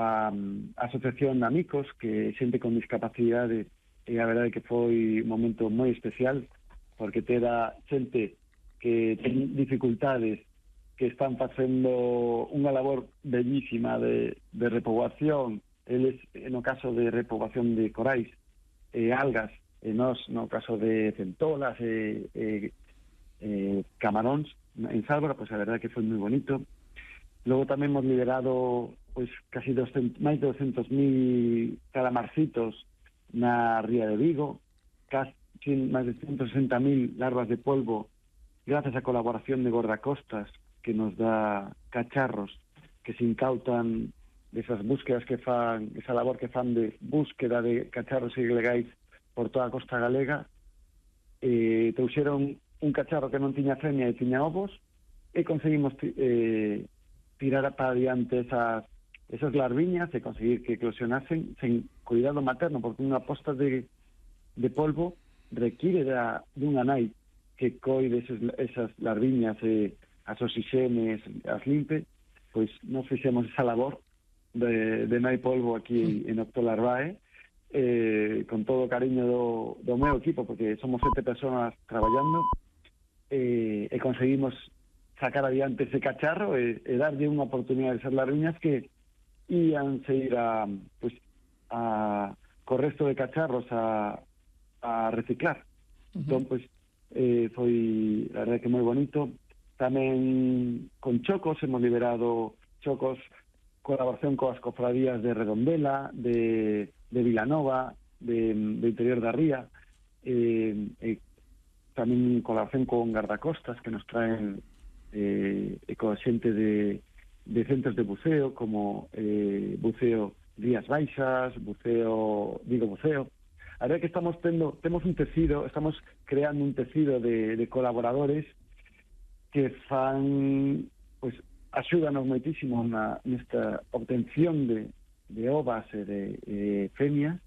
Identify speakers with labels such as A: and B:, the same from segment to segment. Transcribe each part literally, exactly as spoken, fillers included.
A: a, a Asociación Amigos, que xente con discapacidade, e a verdade que foi un momento moi especial, porque tera xente que ten dificultades, que están facendo unha labor bellísima de, de repoboación, eles, no caso de repoboación de corais e algas, e nos, no caso de centolas e, e, e camaróns en Sálvora, pois a verdade que foi moi bonito. Logo tamén hemos liderado pois casi doscientos, máis de doscientos mil calamarcitos na ría de Vigo, casi máis de ciento sesenta mil larvas de polvo, gracias á colaboración de Gordacostas, que nos dá cacharros que se incautan desas búsquedas que fan, esa labor que fan de búsqueda de cacharros ilegais por toda a costa galega. Eh, trouxeron un cacharro que non tiña femia e tiña ovos, e conseguimos eh, tirar para adiante esas, esas larviñas e conseguir que eclosionasen sen cuidado materno, porque unha posta de, de polvo require da, dunha nai que coide esas, esas larviñas e as oxixenes, as limpe. Pois nos fixemos esa labor de, de nai polvo aquí en Octolarvae, eh, con todo o cariño do, do meu equipo, porque somos sete persoas traballando, eh, e conseguimos sacar adiante ese cacharro e, e darlle unha oportunidade a esas larviñas que ían seguir a, pues, a, co resto de cacharros a, a reciclar. Uh-huh. Entón, pues, eh, foi, la verdade que moi bonito. Tamén con chocos, hemos liberado chocos, colaboración coas cofradías de Redondela, de, de Vilanova, de, de Interior da Ría, eh, eh, tamén colaboración con Gardacostas, que nos traen eh, coa xente de, de centros de buceo, como eh, buceo Rías Baixas, buceo Vigo Buceo. A ver que estamos tendo, temos un tecido, estamos creando un tecido de, de colaboradores que fan, pues, axúdanos moitísimo na, nesta obtención de, de ovas e de eh, femias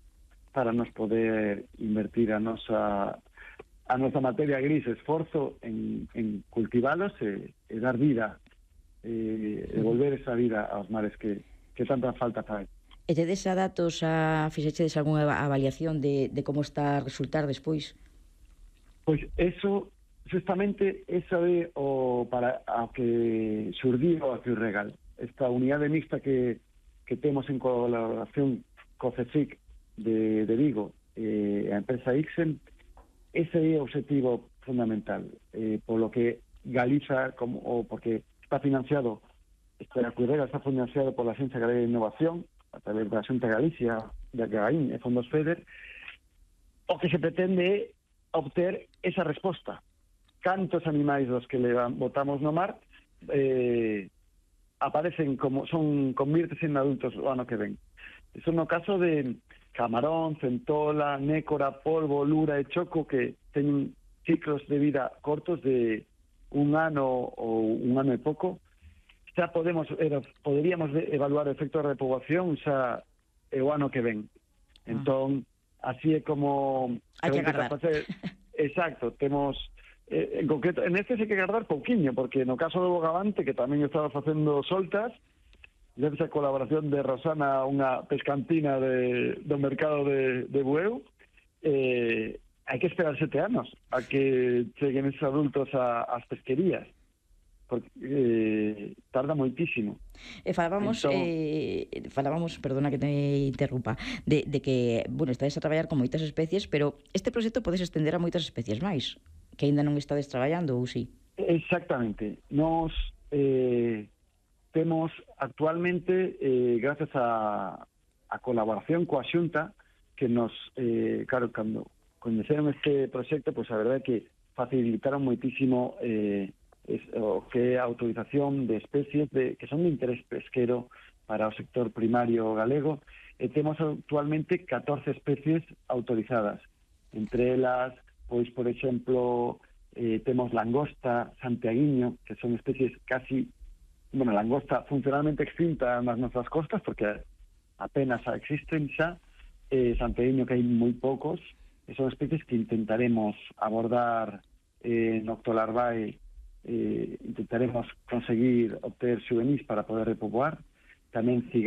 A: para nos poder invertir a nosa a nosa materia gris, esforzo en, en cultivalos e, e dar vida, e devolver esa vida aos mares que, que tanta falta fai.
B: E tedes a datos, a fixechedes algunha avaliación de, de como está a resultar despois?
A: Pois eso, justamente, eso é o para a que surdiu a Ciurregal, esta unidade mixta que, que temos en colaboración co CECIC de, de Vigo e a empresa Ixen. Ese é o objetivo fundamental, eh, polo que Galiza, como, o porque está financiado, esta Ciurregal está financiado por la Agencia Galega de Innovación, a través da Xunta de Galicia, da Gagaín e Fondos FEDER. O que se pretende é obter esa resposta. Cantos animais dos que le botamos no mar eh, aparecen como, son, convírtese en adultos o ano que ven. Eso no caso de camarón, centola, nécora, polvo, lura e choco, que teñen ciclos de vida cortos de un ano ou un ano e pouco. Xa podemos, era, poderíamos evaluar o efecto de repoboación xa é o ano que ven. Entón, así é como...
B: Hai que agardar.
A: Exacto, temos... Eh, en concreto, en este hai que agardar pouquiño, porque no caso do Bogavante, que tamén estaba facendo soltas, gracias a colaboración de Rosana, unha pescantina de, do mercado de, de Bueu, eh, hai que esperar sete anos a que cheguen esos adultos a, ás pesquerías, porque eh, tarda moitísimo.
B: E falábamos, entón, eh, falábamos, perdona que te interrumpa, de, de que, bueno, estades a traballar con moitas especies, pero este proxecto podes estender a moitas especies máis, que aínda non estades traballando, ou si?
A: Exactamente. Nos... Eh, temos actualmente, eh, gracias a, a colaboración coa Xunta, que nos, eh, claro, cando coñeceron este proxecto, pois pues, a verdade é que facilitaron moitísimo eh, es, o que é a autorización de especies de, que son de interés pesquero para o sector primario galego, e temos actualmente catorce especies autorizadas. Entre elas, pois, por exemplo, eh, temos langosta, santiaguiño, que son especies casi... Bueno, langosta funcionalmente extinta nas nosas costas, porque apenas existen xa, eh, santiaguiño que hai moi poucos, e son especies que intentaremos abordar eh, en Octolarvae, eh, intentaremos conseguir obter xuvenis para poder repoboar, tamén